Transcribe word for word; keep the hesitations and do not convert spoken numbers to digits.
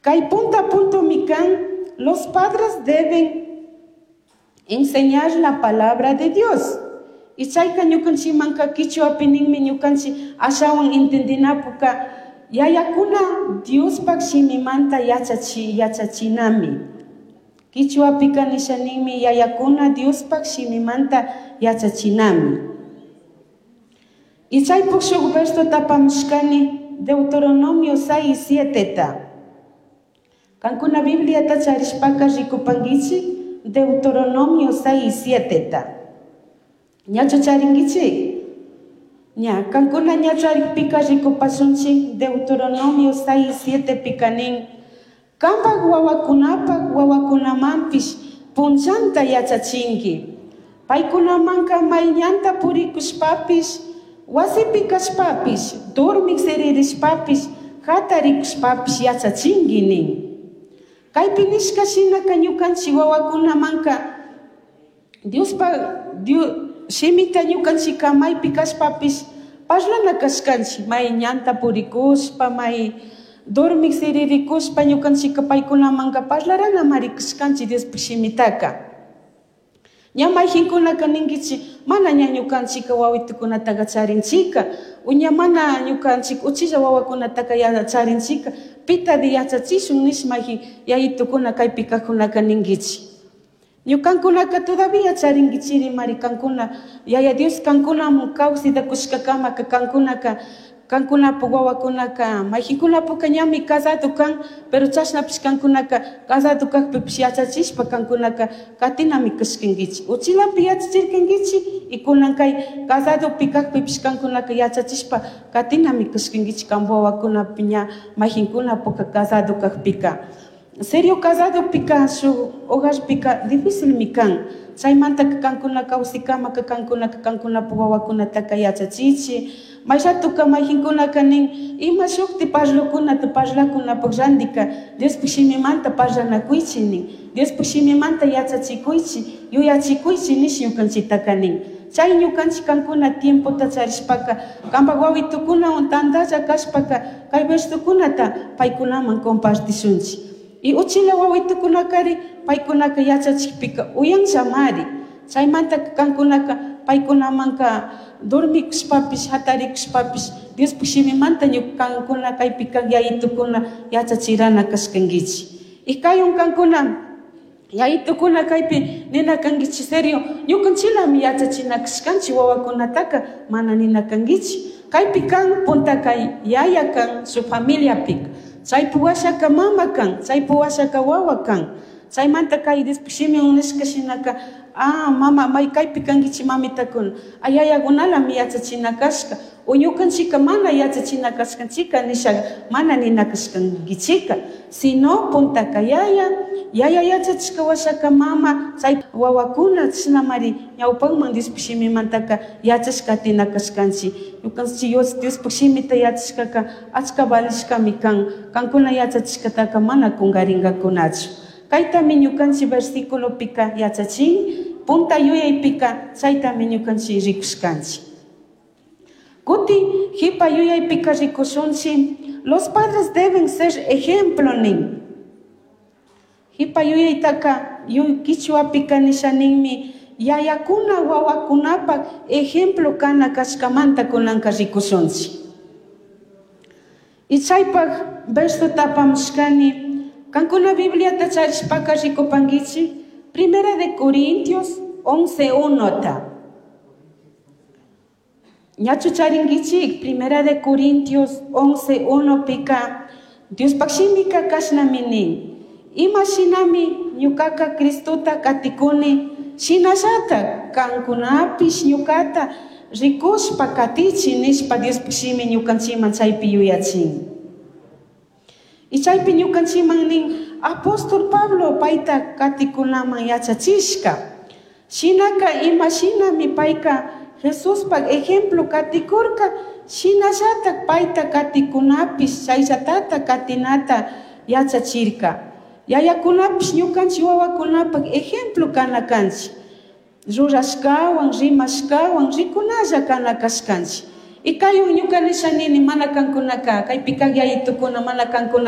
Kay punta puntomi kan, los padres deben enseñar la palabra de Dios. Y chayka ñukanchikmanka kichwapi ninmi ñukanchik ashawan entendinapuka yayakuna Diospaq shimimanta yachachi yachachinami. Kichwapika nisha ninmi yayakuna Diospaq shimimanta yachachinami. Y chaypuk shuk verso tapamushkani Deuteronomio seis siete ta. Kankuna Bibliata charishpaka rikupankichik Deuteronomio seis siete ta. Ñachu charinkichik? Ña, kankuna ña charikpika rikupashunchik Deuteronomio seis siete pika nin kampak wawakunapak wawakunamanpish punllanta yachachinki. Paykunamanka may ñanta purikushpapish, wasipi kashpapish, dormik siririshpapish, hatarikushpapish yachachinki nin. Kaypi nishka shinaka ñukanchik wawakunamanka Diospa Dios shimita ñukanchikka maypi kashpapish parlana kashkanchik may ñanta purikushpa, may dormik siririkushpa ñukanchikka paykunamanka parlaranamari kashkanchik Diospaq shimitaka. Ña mayjinkunaka ninkichik mana ña ñukanchikka wawitukunataka charinchika o ña mana ñukanchik uchilla wawakunataka charinchika pitadi yachachishun nish mayjin yayitukuna kaypi kajkunaka ninkichik. Ñukankunaka todavía charinkichiri mari kankuna Yaya Dios kankunamun kawsayta kushkakamaka kankunaka kankunapuk wawakunaka mayjinkunapuka ñami casado kan, pero chashnapish kankunaka casado kakpipish yachachishpa kankunaka katinami kashkankichik. Uchilapi yachachirkankichik y kunan kay casadopi kakpipish kankunaka yachachishpa katinami kashkankichik kanpak wawakunapi ña mayjinkunapuka casado kakpika. Serio casadopika shuk hogarpika dificilmi kan. Chaymantaka kankuna kawsikamaka kankunaka kankunapuk wawakunataka yachachichik. Mayratuka mayjinkunaka nin ima shukti parlokunata parlakunapak randika Diospuk shimimanta parlanakuychik nin. Diospuk shimimanta yachachikuychik, yuyachikuychik nish ñukanchiktaka nin. Chay ñukanchik kankuna tiempota charishpaka kampak wawitukunawan tantalla kashpaka kay versokunata paykunaman compartishunchik. Y uchila wawitukunakari paykunaka yachachikpika uyanllamari. Chaymantaka kankunaka paykunamanka dormikushpapish hatarikushpapish Diospuk shimimanta ñukankuna kaypi kak yayitukuna yachachirana kashkankichik. Y kayun kankuna yayitukuna kaypi nina kankichik serio ñukanchilami yachachina kashkanchik wawakunataka mana nina kankichik. Kaypi kan puntaka yaya kan shuk familiapika. Chaypi washaka mama kan, chaypi washaka wawa kan. Chaymanta kay Diospuk shimiwan nishka shinaka ah mama may kaypi kankichik mamitakuna ah yayakunalami yachachina kashka o ñukanchika mana yachachina kashkanchika nisha mana nina kashkankichika sino puntaka yaya yaya yachachishka washaka mama chay wawakuna chashnamari ñawpakman Diospuk shimimantaka yachashka katina kashkanchik. Ñukanchik Diospuk shimita yachashkaka achka valishkami kan kankuna yachachishkataka mana kunkarinkakunachu. Kaytami ñukanchik versiculopika yachachin punta yuyaypika chaytami ñukanchik rikushkanchik. Kuti jipa yuyaypika rikushunchik los padres deben ser ejemplo nin. Jipa yuyaytaka kichwapika nisha ninmi yayakuna wawakunapak ejemplo kana kashkamanta kunanka rikushunchik. Y chaypak verso tapamushkani kankuna Bibliata charishpaka rikupankichik Primera de Corintios once uno ta. Ñachu charinkichik Primera de Corintios once uno pika Diospak shimika kashnami nin ima shinami ñukaka Cristota katikuni shinallatak kankunapish ñukata rikushpa katichi nishpa Diospak shimi ñukanchikman chaypi yuyachin. Y chaypi ñukanchikman nin apóstol Pablo payta katikunaman yachachishka. Shinaka ima shinami payka Jesuspak ejemplo katikurka shinallatak payta katikunapish chayllatata katinata yachachirka. Yayakunapish ñukanchik wawakunapak ejemplo kana kanchik. Rurashkawan, rimashkawan, rikunalla kana kashkanchik. Y kaywan ñuka nisha nini mana kankunaka kaypi kak yayitukuna mana kankunaka